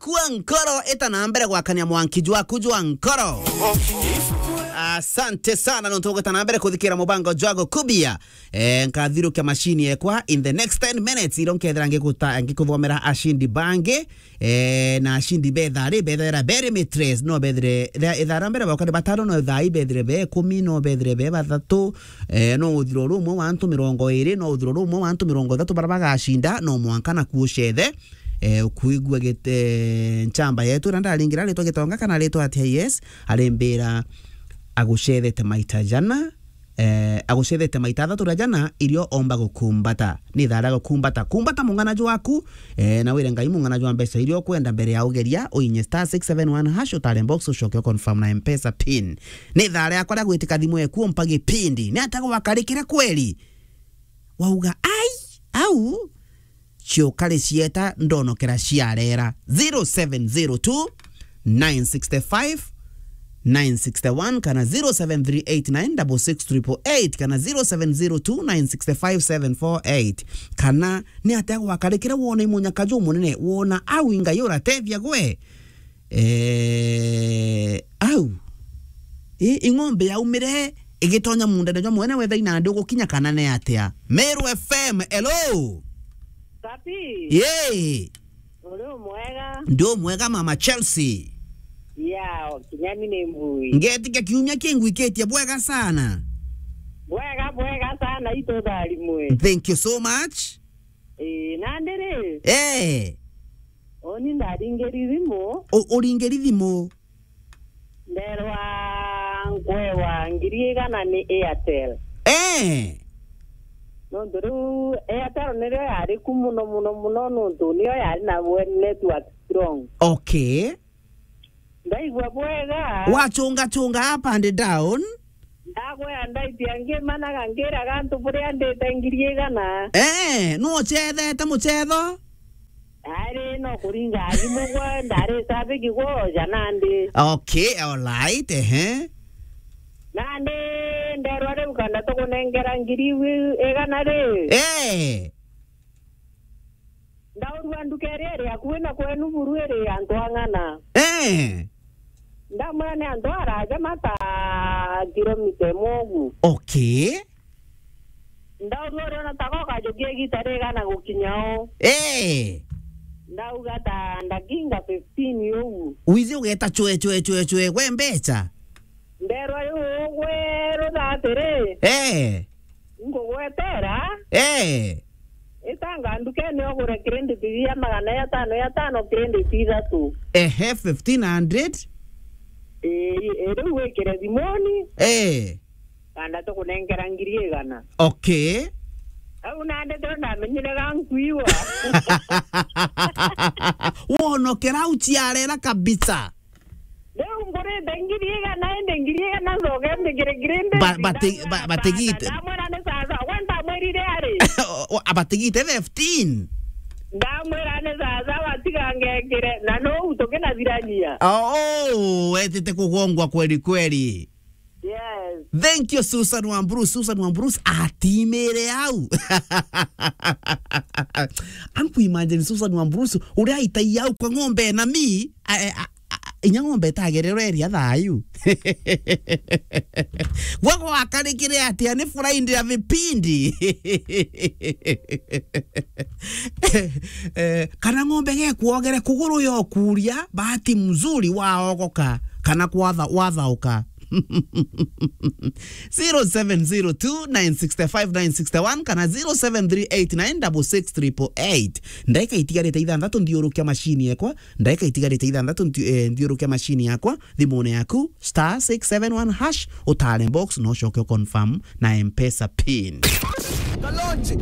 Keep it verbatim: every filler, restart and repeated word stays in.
Gukua nkoro, ita na mbere gwakania mwanki jwaku jwa nkoro. Asante sana nontu ugita na mbere kuthikira mubango jwa gukubia. Eh, nkathirukia machine yekwa in the next ten minutes, iro nkethira ngikuta-, ngikuthomera ashindi bangi. Eh, na ashindi betha ri, bethera very mitres, no bethire, itha-, ithaa ria mbere bauka ni batano, no thaa ibethire be ikumi, no bethire be bathatu. Eh, no uthiro rumwe wa antu mirongo iri, no uthiro rumwe wa antu mirongo ithatu bara bagacinda, no mwanka naku ucethe. Eh, ukuigua git-, eh, nchamba yetu, na ndaringira ritwa Gitonga kana ritwa atia, yes, arimbira agucethete maita jana, eh, agucethete maita athatu na jana, irio omba gukumbata. Ni thaa ria gukumbata. Kumbata mung'ana jwaku, eh, na wire Ngai mung'ana jwa mbeca iria ukwenda mbere ya ugeria, uinye star six seven one hash, utare box, ucoke u confirm na M-Pesa pin. Ni thaa riakwa ria gwitika thimu eku umpa gipindi. Ni atia gwakarikire kweri? Wauga, "Ai, au, ciukari cieta ndonokera ciarera." Zero seven zero two, nine six five, nine six one kana zero seven three eight nine six six triple eight kana zero seven zero two, nine six five, seven four eight. Kana ni atia gwakarikire wona imunyaka jumunene, wona au ingai uratethia gwe? Eh, au. I, ing'ombe yaumire igitonya mundane jwa mwene wetha inandi ugukinya kana ni atia? Meru F M, hello. Papi. Yee. Uri umwega? Ndi umwega, Mama Chelsea. Ya, kinyani ni mbui. Ngetikia kiumia kingwikitie bwega sana. Bwega, bwega sana, itutharimwe. Thank you so much. Ii, nandi ri? Eh. Uni ndaringiri thimu. U-, uringiri thimu? Nderwa nkwewa ngiri igana ni Airtel. Eh. Nontu riu Airtel nirio yari ku muno, muno, muno, nontu niyo yari na we-, network strong. Okay. Ndaigua bwega. Wachunga chunga up and down. Ndakwira ndaitia ngimanaga ngiraga antu buria ndite ngiri igana. Eh, nu uchethete muchetho? Ari no kuringa thimu gwe, ndari sabiki gwoja nandi. Okay, all right, ehe. Nandi nderwa riu kanda tukunengera ngiri igana ri. Eh. Ndaurua nduka iria iri akui na kwenu buru iri antu ang'ana. Eh. Ndamwira ni antu araja mata kilomita imwe ugu. Okay. Ndaurua uriona ta gokajukia igita rigana gukinya o. Eh. Ndauga ta ndakinga fifteen ugu. Withi ugeta chwe, chwe, chwe, chwe, gwe mbecha? Nderwa riu ugwe rutha atiri. Eh. Ngugwetera. Eh. Itanga ndukene ugure credit ya magana ya tano ya tano, credit ithatu. Ehe, fifteen hundred. Ii, riu wikire thimuni. Eh. Kanda tukunengera ngiri igana. Okay. Au nandi tu ndamenyire ga nkuiwa. Wonokera uchiarera kabisa. Riu ngurite ngiri igana, indi ngiri igana ncoke mbikire credit. Ba-, bati-, ba-, batigite. Ndamwira ni sasa, we ndamwirire ari? O, o, abatigite fifteen. Ndamwira ni sasa, watiga ngekire, na no utukinathirania. Oh, oh, wetite kugongwa kweli kweli. Yes. Thank you, Susan Wambrus. Susan Wambrus atimire au. Anku imagine Susan Wambrus, uria aitai au kwa ng'ombe na mi, a, a, a, a, inya ng'ombe itagererwa iria thayu. Gwe gwakarikire atia? Ni Friday ya vipindi. Eh, kana ng'ombe gekuogere kuguru yokuria, bahati mzuri waogoka, kana kwatha-, wathauka. Zero seven zero two, nine six five, nine six one kana zero seven three eight nine six six triple eight. Ndaika itigarite ithanthatu nthiurukia machine yakwa, ndaika itigarite ithanthatu nthi-, eh, nthiurukia machine yakwa, thimune yaku, star six seven one hash, utare box, no ucoke u confirm na M-Pesa pin. Kalonji,